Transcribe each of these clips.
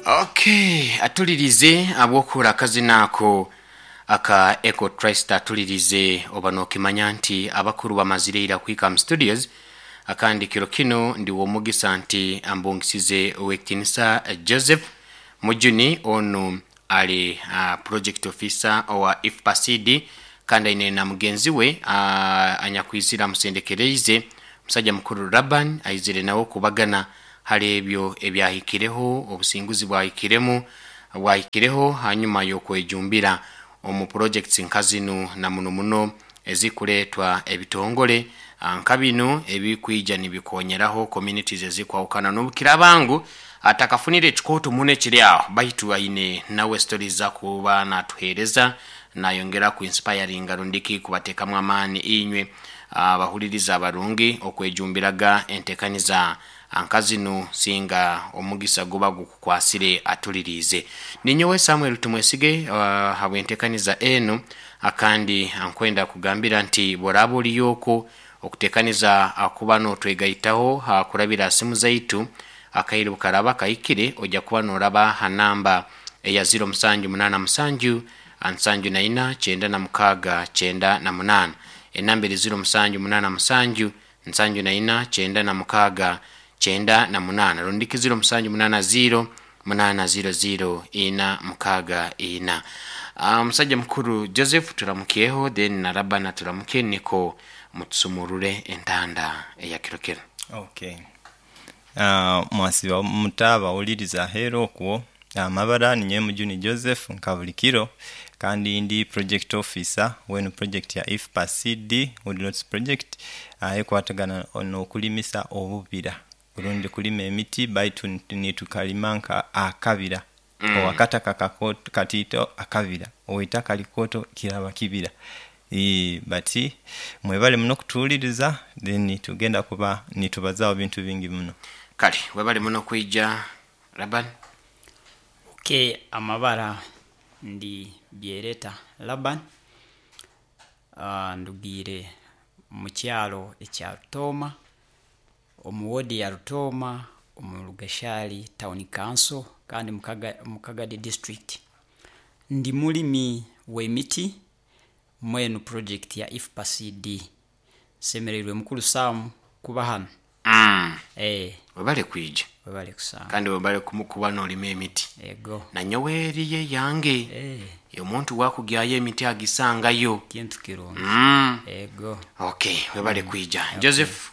Okay, atulirize abwokuhura akazina ako aka Eco Trust. Atulirize oba nokimanya nti abakuru bamazire ira kuhika mu studios. Akandi kiro kino ndi w'omugisa nti ambungisize Owekitinisa Joseph Mujuni. Onu ali project officer owa IFPACD, kandi aine na mugenzi we anyakwizire amusendekereize, musajja mukuru Laban, aizire nawe kubagana hali ebyo ebyahikireho, obusinguzi bwahikiremu bwahikireho hanyuma y'okwejumbira omu projects nka zinu, na muno muno ezikuleetwa ebitongole nka binu ebikwija nibikonyeraho communities ezikwahukana. N'obukiraaba ngu atakafunire ekikooto muno ekiri aho, baitu aine nawe stories zakuba natuheereza, nayongera ku inspiringa rundiki kubateekamu amaani inywe abahuliriza abarungi okwejumbiraga entekaniza nka zinu singa omugisa guba gukukwasire. Atuliriize, ninyowe Samuel Tumwesige habw'entekaniza enu. Akandi nkwenda kugambira nti bworaaba oliyo oku okutekaniza kuba notwegaitaho kurabira ha simu zaitu, akaire bukaraba kahikire ojja kuba noraba ha namba eya 0787 74 98. Enamba eri 0787 74 98, rundiki 0780 800 464. Omusajja mukuru Joseph turamukyeho, then na Labana turamuke, niko mutusumurure entanda eya kiro kinu. Okay. Mwasiiba muta abawuliriza aheeru okwo? Amabara ninyowe Mujuni Joseph nka buli kiro, kandi ndi project officer w'enu project ya IFPA CD Woodlots project ekwatagana n'okulimisa obubira rundi kulima emiti, baitu nitukalima nka akabira. Owakataka katiito akabira, oweitaka likooto kiraba kibira. But mwebale muno kutuhuliriza, then tugenda kuba nitubazaho bintu bingi muno. Kale webale muno kwija, Laban. Okay, amabara ndi Byereta Laban, ndugiire mu kyaro ekya Rutooma, omu ward ya Rutooma, omu Rugashari town council, kandi mu Kagadi district. Ndi mulimi w'emiti mwenu project ya IFPA CD. Nsemereirwe mukuru Sam kuba hanu. Webale kwija. Webale kusanga. Kandi webale kuba nolima emiti. Ego. Nanyowe eriyo eyange. Omuntu wakugyayo emiti agisangayo. Kintu kirungi. Ego. Okay, webale kwija. Joseph,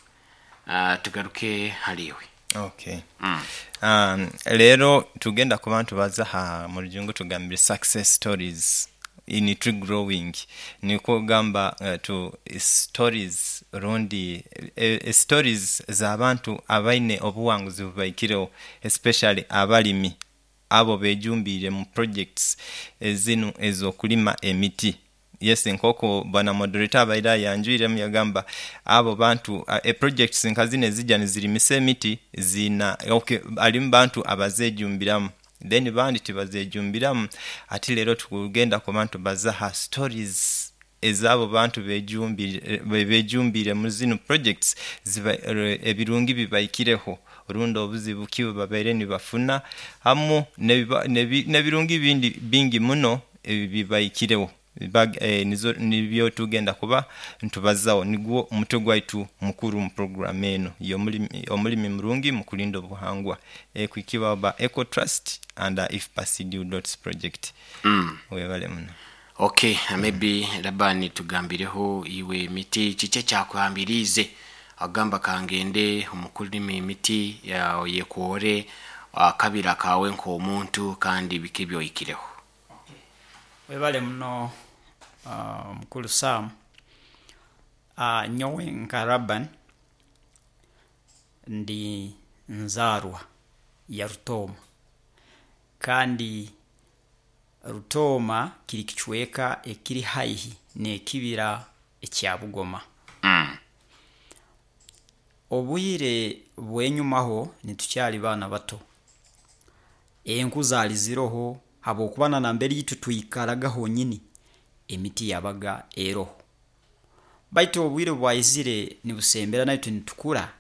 tugaruke haliwe. Okay. Leero tugenda kuba nitubaza ha mu rujungu tugambire success stories in tree growing, nikwo kugamba tu stories rundi stories z'abantu abaine obuwanguzi bubaikireho, especially abalimi abo bejumbiire mu projects ezinu ez'okulima emiti. Yes, nk'oku bwana moderator abaire ayanjwiremu yagamba abo bantu e projects nka zinu ezija nizirimisa emiti ziina, okay, harimu bantu abazejumbiramu, then bandi tibazejumbiramu. Ati leero tukugenda kuba nitubaza ha stories ez'abo bantu bejumbiire mu zinu projects, ziba ebirungi bibaikireho rundi obuzibu ki obu babaire nibafuna hamu n'ebirungi bindi bingi muno ebibaikireho. Nibyo tugenda kuba nitubazaho, nigwo omutwe gwaitu mukuru mu program enu y'omulimi murungi mu kulinda obuhangwa ekuhikibwaho ba Eco Trust and IFPA CD Woodlots project. Webale muno. Okay, maybe Labani tugambireho iwe emiti kiki ekyakuhambiriize agamba kangende omu kulima emiti oyekoore akabira kawe nk'omuntu, kandi biki ebyohikireho? Webale muno mukuru Sam. Nyowe nka Laban ndi nzaarwa ya Rutooma, kandi Rutooma kiri kicweka ekiri haihi n'ekibira ekya Bugoma. Obwire bw'enyumaho nitukyali baana bato, enku zaali ziroho habwokuba na nambere itwe twikaraga honyini emiti yabaga eroho. Baitu obwire obu bwaizire nibusembera naitwe nitukura,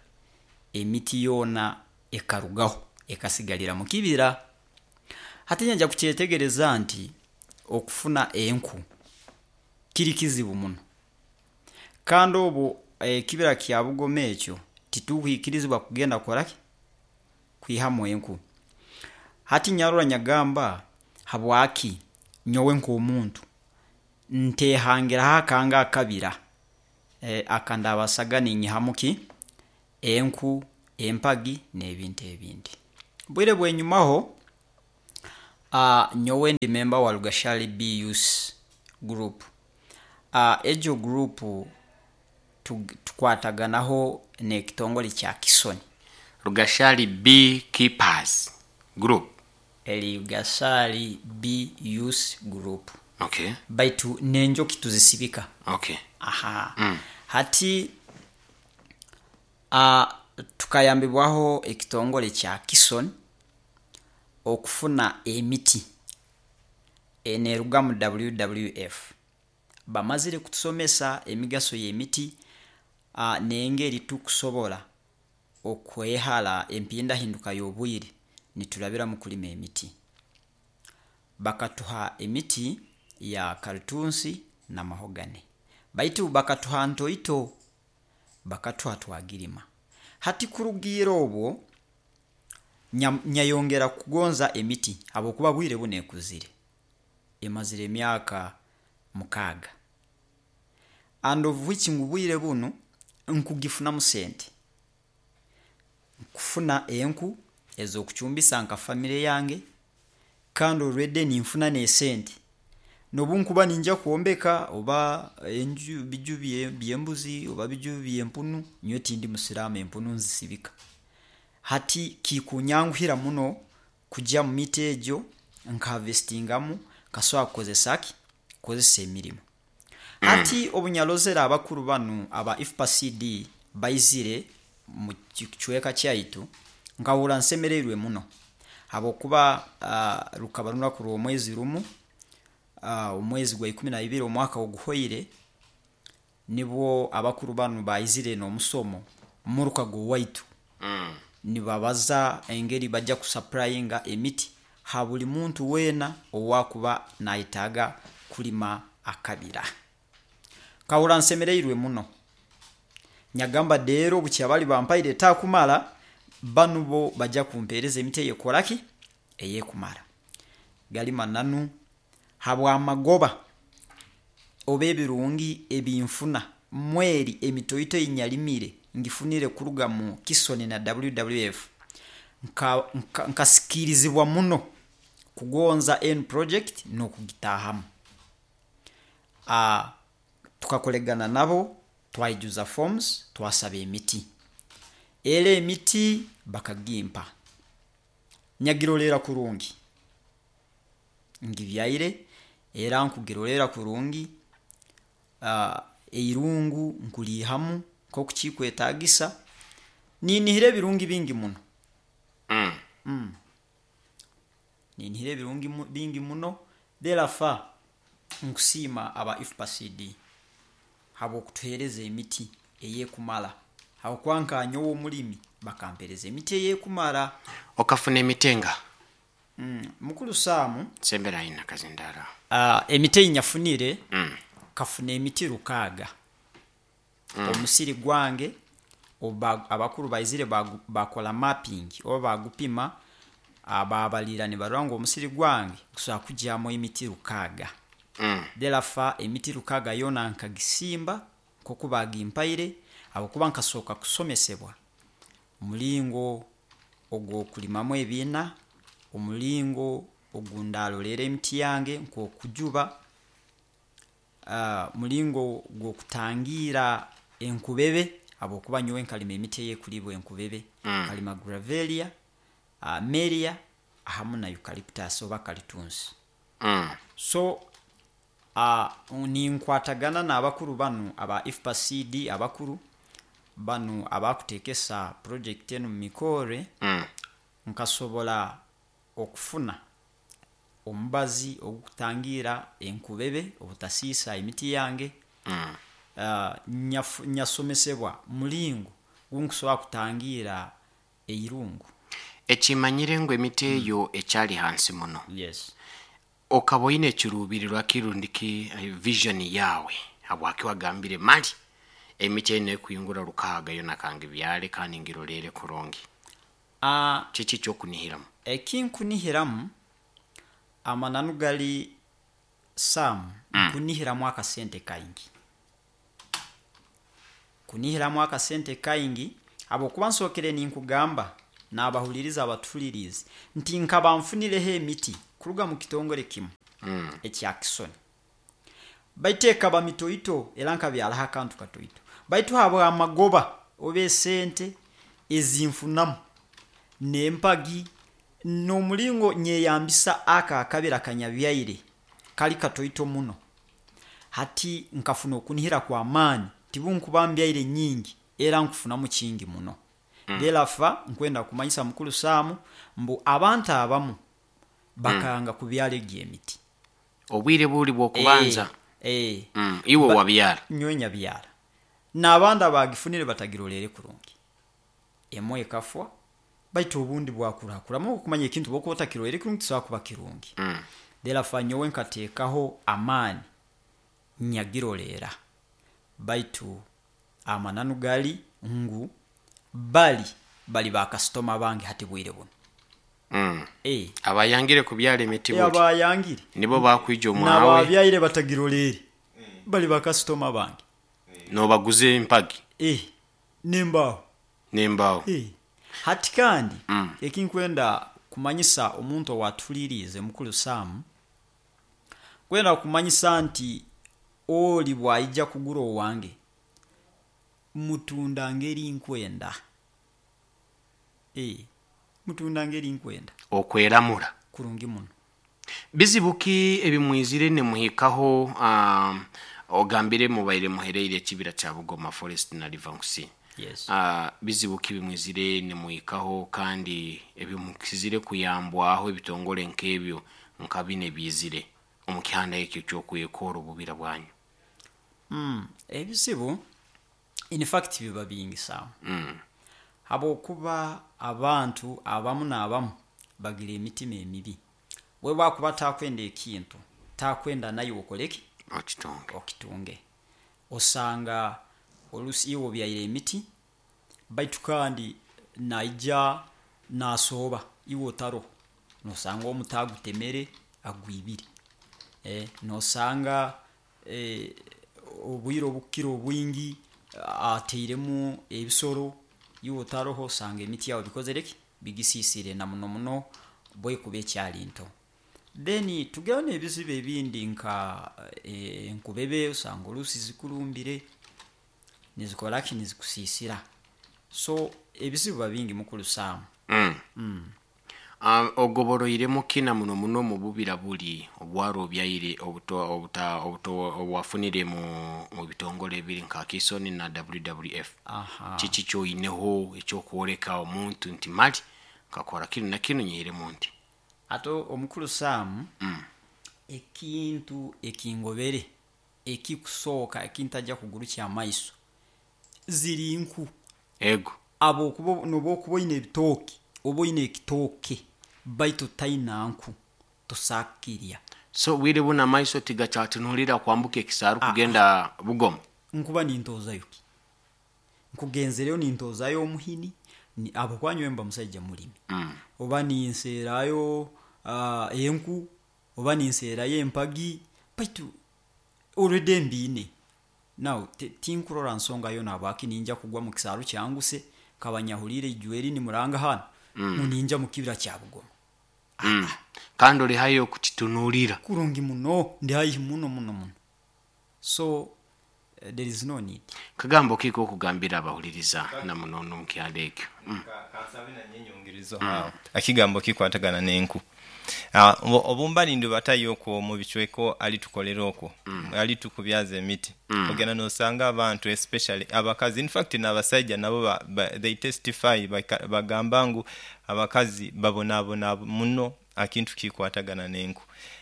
emiti yoona ekarugaho ekasigarira mu kibira. Hati nyanja kukyetegereza nti okufuna enku kiri kizibu muno, kandi obu ekibira kya Bugoma ekyo tituhwikirizibwa kugenda kukoraki, kwihamu enku. Hati nyarora nyagamba, habwaki nyowe nk'omuntu ntehangiraho akange akabira akandabasaga ninyihamu ki enku, empagi n'ebintu ebindi. Bwire bwenyumaho, nyowe ndi member wa Rugashari B Youth Group. Egyo group tukwataganaho n'ekitongore kya Kisoni. Rugashari B Keepers Group. Eri Rugashari B Youth Group. Baitu n'enjoki tuzisibika. Aha. Hati tukayambibwaho ekitongore kya Kisoni okufuna emiti eneruga mu WWF. Bamazire kutusomesa emigaso y'emiti n'engeri tukusobora okwehara empindahinduka y'obwire niturabira mu kulima emiti. Bakatuha emiti ya karitunsi na mahogany, baitu bakatuha ntoito, bakatuha twagirima. Hati kurugiira obwo nyayongera kugonza emiti habwokuba bwire bunu ekuzire, emazire emyaka 6, and of which ngu bwire bunu nkugifunamu sente, nkufuna enku ez'okucumbisa nka famire yange, kandi already ninfuna n'esente nobu nkuba ninjya kwombeka oba enju biju by'embuzi oba biju by'empunu. Nyowe tindi musiraamu, empunu nzisibika. Hati kikunyanguhira muno kujya mu miti egyo nkahavestingamu, nkasobora kukozesa ki, kukozesa emirimo. Hati obunyarozere abakuru banu aba IFPA-CD baizire mu kicweka kyaitu, nkahurra nsemereirwe muno, habwokuba rukaba runaku rw'omwezi rumu, omwezi gwa 12 omwaka oguhoire, nibwo abakuru banu baizire n'omusomo muruka gw'owaitu, nibabaza engeri bajya kusupplyinga emiti ha buli muntu weena owakuba nayetaaga kulima akabira. Nkahurra nsemereirwe muno, nyagamba deero bukya bali bampaire etakumara, banu bo bajya kumpereza emiti eyekukoraki, eyekumara. Gali mananu, habw'amagoba oba ebirungi ebinfuna mweri emitoito eyinyarimire ngifunire kuruga mu Kisoni na WWF, nkasikiirizibwa muno kugonza enu project n'okugitaahamu. Tukakoregana nabo, twaijuza forms, twasaba emiti, era emiti bakagimpa, nyagiroleera kurungi, ngibyaire era nkugiroleera kurungi, eirungu nkuliihamu nkoku kikwetaagisa, ninihira ebirungi bingi muno. Ninihira ebirungi bingi muno. Therefore nkusiima aba IFPA-CD habw'okutuheereza emiti eyekumara, habwokuba nka nyowe omulimi bakampereza emiti eyekumara. Okafuna emiti enga? Mukulu Saamu, Sembera aina kazindaro. Emiti eyinyafunire, kafuna emiti 6. Omusiri gwange abakuru baizire bakora mapping oba bagupima, babalira nibarora ngu omusiri gwange gusobora kugyamu emiti 6. Therefore emiti 6 yoona nkagisimba nkoku bagimpaire, habwokuba nkasooka kusomesebwa omulingo ogw'okulimamu ebiina, omulingo ogundarolera emiti yange nk'okujuba, mulingo gw'okutangira enkubebe, habwokuba nyowe nkalima emiti eyekulibwa enkubebe, nkalima gravelia, melia hamu na eucalyptus oba kalitunsi. So ninkwatagana n'abakuru banu aba IFPA-CD, abakuru banu abakutekesa project enu mu mikore, nkasobora okufuna omubazi ogukutangira enkubebe obutasiisa emiti yange. Nyasomesebwa mulingo gunkusobora kutangira eirungu. Ekimanyire ngu emiti eyo ekyali hansi muno. Yes. Okaba oine ekiruubirirwa kirundiki, vision yawe habwaki wagambire mali emiti enu ekwingura 6 yona kangibyale kandi ngirolere kurungi? Kiki kyokunihiramu? Ekinkunihiramu amananu gali Sam, nkunihiramu akasente kaingi. Kunihiramu akasente kaingi habwokuba nsookere ninkugamba n'abahuliriza abatuhuliriize nti nkaba nfunireho emiti kuruga mu kitongole kimu ekya Kisoni, baitu ekaba mitoito era nkabyaraho akantu katoito, baitu habw'amagoba oba esente ezinfunamu n'empagi n'omulingo nyeyambisa aka akabira kanyabyaire kali katoito muno, hati nkafuna okunihira kw'amaani tibunkuba mbyaire nyingi era nkufunamu kingi muno. Therefore nkwenda kumanyisa mukuru Sam mbu abantu abamu bakanga kubyara egi emiti. Obwire buli bw'okubanza. Iwe wabyara? Nyowe nyabyara. N'abandi abagifunire batagirolere kurungi. Emwe ekafwa, baitu obundi bwakurakuramu okumanya ekintu bwokuba otakirolere kurungi tikisobora kuba kirungi. Therefore nyowe nkateekaho amaani nyagirolera, baitu amananu gali ngu bali bakasitoma bange hati bwire buno. Abayangire kubyara emiti buli. Abayangire. Nibo bakwija omwawe. N'ababyaire batagirolere bali bakasitoma bange. Nobaguza empagi. N'embaaho. N'embaaho. Hati kandi ekinkwenda kumanyisa omuntu owatuliriize mukuru Sam, kwenda kumanyisa nti oli bwaija kugura owange mutunda ngeri nkwenda. Mutunda ngeri nkwenda. Okweramura. Kurungi muno. Bizibu ki ebimwizire nemuhikaho, ogambire mubaire muhereire ekibira kya Bugoma Forest na River Nkusi. Yes. Bizibu ki bimwizire nemuhikaho kandi ebimukizire kuyambwaho ebitongole nk'ebyo nka bine bizire omu kihanda ekyo ky'okwekora obubira bwanyu? Ebizibu in fact biba bingi Sam. Habwokuba abantu abamu n'abamu bagira emitima emibi. We bwakuba takwenda ekintu, takwenda naye okoleki? Okitunge. Okitunge. Osanga olusi iwe obyaire emiti, baitu kandi naija nasooba iwe otaroho. Nosanga omuti agutemere agwibire. Nosanga obwire obukukira obwingi ateiremu ebisoro iwe otaroho, osanga emiti yawe bikozere ki? Bigisisire na muno muno bwekuba ekyali nto. Then tugira n'ebizibu ebindi nka enkubebe, osanga olusi zikurumbire nizikora ki? Nizikusisira. So ebizibu biba bingi mukuru Sam. Ogoboroiremu kina muno muno mu bubira buli obwaro obyaire obwafunire mu bitongole ebiri nka Kisoni na WWF. Kiki kyoineho ekyokwoleka omuntu nti mali nkakora kinu na kinu nyihiremu nti? Ate omukuru Sam, ekintu ekingobere ekikusooka ekintajja kugurukya amaiso ziri nku. Ego. Habwokuba nobu okuba oine ebitooke oba oine ekitooke baitu totaina nku tosaakukirya. So bwire buno amaiso tigakyatunulira kwambuka ekisaaru kugenda Bugoma? Nkuba nintozayo ki? Nkugenzereyo nintozayo omuhini, habwokuba nyowe mba musaija mulimi. Oba ninseerayo enku, oba ninseerayo empagi, baitu already mbiine. Now tinkurora nsonga yoona habwaki ninja kugwa mu kisaaru kyanguse nkaba nyahuriire ijweri nimuranga hanu ngu ninja mu kibira kya Bugoma. Kandi ori haihi okukitunulira. Kurungi muno, ndi haihi muno muno muno. So there is no need. Kagambo ki kokugambira abahuliriza na muno omu kyalo ekyo? Kansabe nanye nyongerizo aho ekigambo kikwatagana n'enku. Obumba nindubatayo okwo mu bicweka alitukolera okwo, alitukubyaza emiti, ogenda nosanga abantu especially abakazi, in fact n'abasaija nabo they testify, bagamba ngu abakazi babonabona muno akintu kikwatagana n'enku.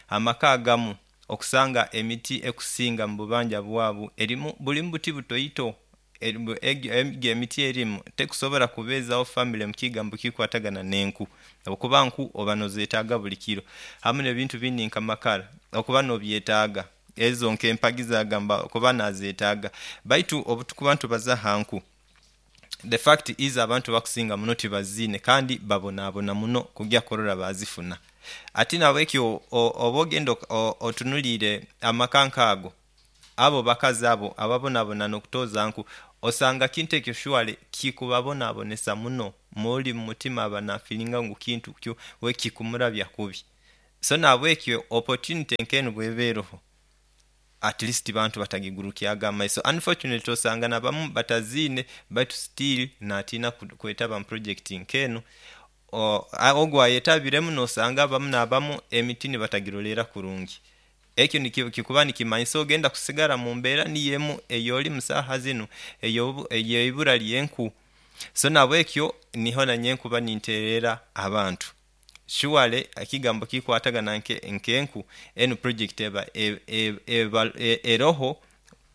Amaka agamu okusanga emiti ekusinga mu bubanja bwabu erimu bulimu buti butoito. Egyo emiti erimu tekusobora kubeezaho family mukigambo kikwatagana n'enku, habwokuba nku oba nozetaaga buli kiro, hamu n'ebintu bindi nk'amakara okuba nobyetaaga, ezo nk'empagi zagamba okuba nazetaaga. Baitu obu tukuba nitubaza ha nku, the fact is abantu abakusinga muno tibaziine kandi babonaabona muno kugya kurora baazifuna. Ati nahabwekyo oba ogenda otunuliire amaka nk'ago, abo bakazi abo ababonabona n'okutooza nku, osanga kintu ekyo surely kikubabonabonesa muno muli mumutima aba nafeelinga ngu kintu kyo we kikumurabya kubi. So nahabwekyo opportunity nk'enu bweba eroho, at least abantu batagigurukyaga amaiso. Unfortunately osanga nabamu bataziine baitu still natiina kwetaba mu project nk'enu, ogu ayetabiremu nosanga abamu n'abamu emiti nibatagiroleera kurungi. Ekyo kikuba nikimanyisa ogenda kusigara mumbeera niyo emu eyolimu saaha zinu ey'eibura ly'enku. So nahabwekyo niho nanyowe nkuba ninteerera abantu, surely ekigambo ekikwatagana nk'enku, enu project eba eroho,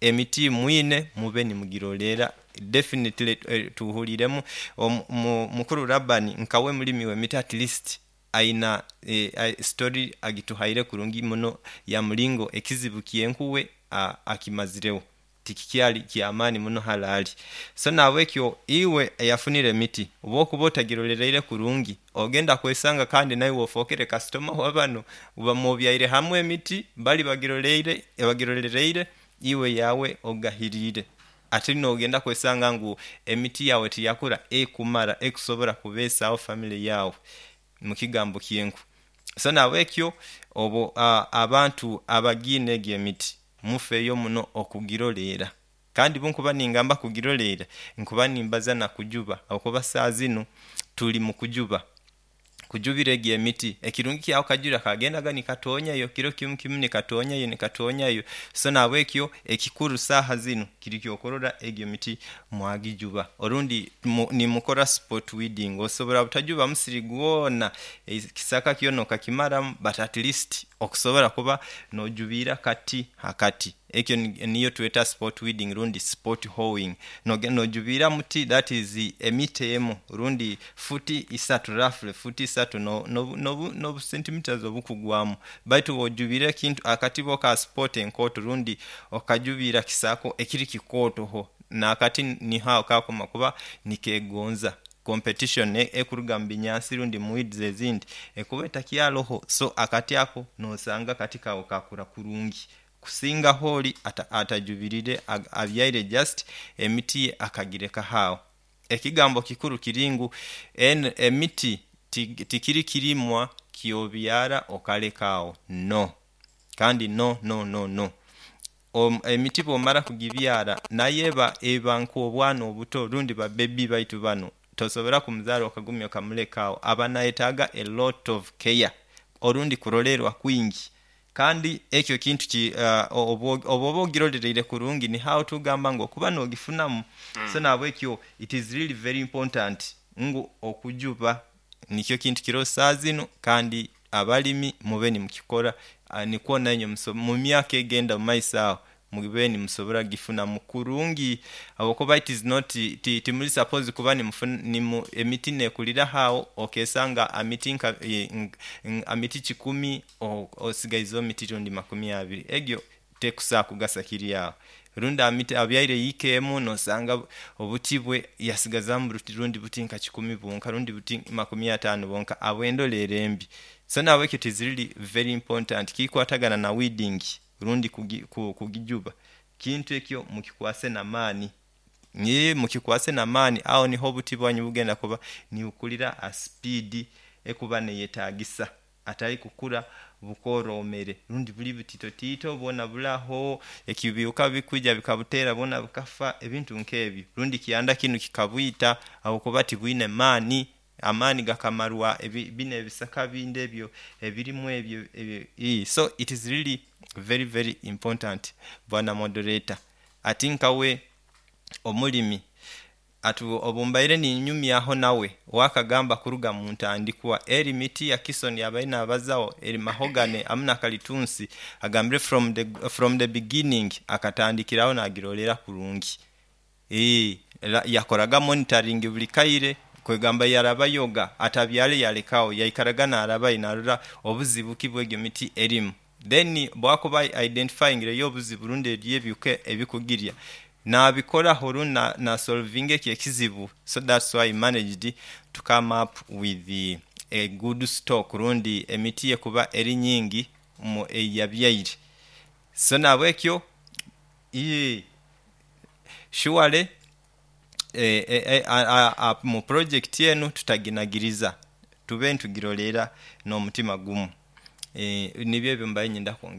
emiti mwine mube nimugiroleera definitely tuhuliiremu mukuru Laban nkawe mulimi w'emiti at least ayina story agituhaire kurungi muno ya mulingo ekizibu ky'enku we akimazireho, tikikyali kyamaani muno hali. So nahabwekyo iwe eyafunire emiti, obu okuba otagirolereire kurungi, ogenda kwesanga kandi naiwe ofookere kasitoma wa banu, mubyaire hamu emiti, bali bagirolereire, iwe eyaawe ogahiriire, ati nogenda kwesanga ngu emiti yaawe tiyakura ekumara ekusobola kubeesaho family yaawe mukigambo ky'enku. So nahabwekyo obu abantu abagiine egi emiti mufeeyo muno okugiroleera, kandi obunkuba ningamba kugiroleera, nkuba nimbaza nakujuba habwokuba saaha zinu tuli mukujuba, kujubira egi emiti, ekirungi kyaho akajura kagendaga nikatoonyayo kiro kimu kimu nikatoonyayo nikatoonyayo, so nahabwekyo ekikuru saaha zinu kiri ky'okurora egi emiti mwagijuba orundi nimukora spot weeding, osobola butajuba musiri gwona, ekisaka kyona okakimaramu but at least okusobola kuba nojubiira akati ha kati, ekyo niyo tweta spot weeding rundi spot hoeing, nogenda nojubiira muti that is emita emu rundi futi isatu roughly futi isatu nobu centimeters obukugwamu, baitu oba ojubiire ekintu akati bo ka spot enkooto rundi okajubiira kisaako ekiri kikooto n'akati niho aho kakoma kuba nikegonza, competition ekuruga mubinyansi rundi mu weeds ezindi ekuba etakyaroho, so akati ako nosanga akati kaawe kakura kurungi kusingaho ori atajubiriire abyaire just emiti ye akagireka aho. Ekigambo kikuru kiri ngu emiti tikiri kirimwa ky'obyara okaleka aho, no kandi no no no no, emiti bwomara kugibyara nayo eba nk'obwana obuto rundi ba baby baitu banu, tosobola kumuzaara okagumya okamuleka aho, aba nayetaaga a lot of care orundi kuroleerwa kwingi, kandi ekyo ekintu obu oba ogirolereire kurungi niho aho tugamba ngu okuba nogifunamu. So nahabwekyo it is really very important ngu okujuba nikyo kintu kiroho saaha zinu kandi abalimi mube nimukikora nikwo nainywe mumyaka egenda mumaiso aho mube nimusobola kugifunamu kurungi habwokuba it is not, timuli supposed kuba emiti nekuriraho aho okesanga ha miti kikumi osigaizeho miti rundi makumi abiri, egyo tekusobola kugasa kiri aho, rundi abyaire yiika emu nosanga obuti bwe yasigazamu rundi buti nka kikumi bwonka rundi buti makumi ataano bwonka habw'endoleera embi. So nahabwekyo it is really very important ekikwatagana na weeding rundi kugijuba, kintu ekyo mukikwase n'amaani, mukikwase n'amaani aho niho obuti bwanyu bugenda kuba nibukurira ha speed ekuba neyetaagisa hatali kukura bukooroomere rundi buli butiitotiito bwona buraho, ebihuka bikwija bikabuteera bwona bukafa, ebintu nk'ebyo, rundi kyanda kinu kikabwita habwokuba tibwine maani, amaani gakamarwa binu ebisaka bindi ebyo ebirimu ebyo, so it is really very very important bwana moderator. Ati nkawe omulimi, obu mbaire ninyumyaho nawe, we akagamba kuruga muntandikwa eri miti ya Kisoni yabaire nabazaaho eri mahogany hamu na kalitunsi, agambire from the beginning akatandikiraho nagiroleera kurungi. Yakoraga monitoring buli kaire, kwegamba yarabayoga atabyale yalekawo, yaikaraga narabayo narora obuzibu ki bwegyo emiti erimu. Then bwakuba identifyingireyo obuzibu rundi eriyo ebihuka ebikugirya, nabikoraho rundi nasolvinga ekyo ekizibu. So that's why he managed to come up with a good stock rundi emiti ekuba eri nyingi eiyabyaire. So nabwekyo surely omu project enu tutaginagiriza, tube nitugirolera nomutima gumu. Nibyo ebyo mbaire ninyenda kwongeramu.